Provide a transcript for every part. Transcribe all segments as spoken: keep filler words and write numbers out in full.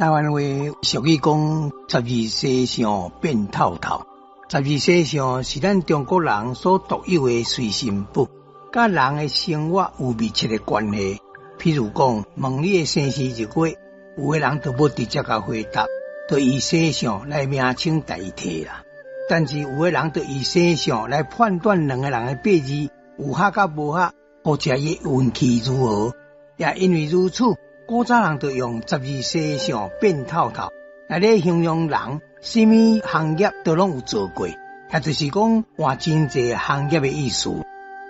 台灣話俗語講十二生肖變透透，十二生肖是咱中國人所獨有的隨身寶，佮人的生活有密切的關係。譬如講，問你的生時日月，有的人就無直接共回答，就以生肖來名稱代替啦。但是有的人就以生肖來判斷兩個人的八字有合佮無合，或者伊運氣如何。也因為如此，古早人就用十二生肖變透透來咧形容人，啥物行業都攏有做過，也就是講換真濟行業的意思。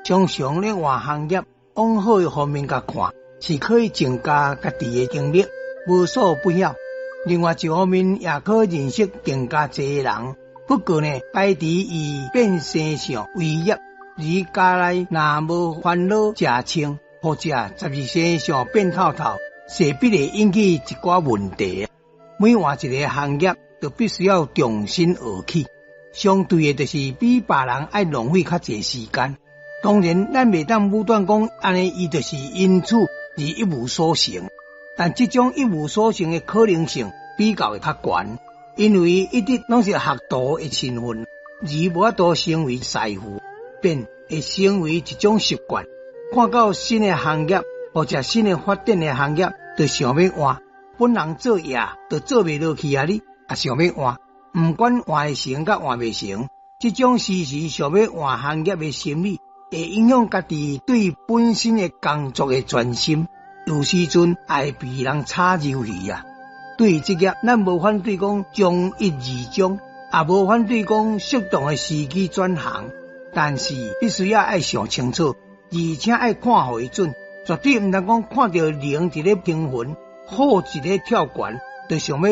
常常咧換行業，往好的方面共看，是可以增加家己的經歷，無所不曉。另外一方面，也可認識更加濟人。不過呢，排除以變生肖為業，而家內若無煩惱食穿，或者十二生肖變透透，勢必會引起一寡問題。每換一个行業，就必須要重新學起。相對的，就是比別人愛浪費較濟時間。當然，咱袂當武斷講，按呢伊就是因此而一無所成。但這種一無所成的可能性比較會較懸，因為一直攏是學徒的身份，而無法度成為師傅，便會成為一種習慣。看到新的行業或者新的發展的行業，就想欲換。本人做業就做袂落去啊！你也想欲換，毋管換會成佮換袂成，這種時時想欲換行業的心理，會影響家己對本身的工作的專心。有時陣會被人炒魷魚啊！對於職業，咱無反對講從一而終，也無反對講適當的時機轉行，但是必須要愛想清楚，而且愛看予伊準，絕對毋通講看著龍佇咧興奮，虎佇咧跳懸，就想欲。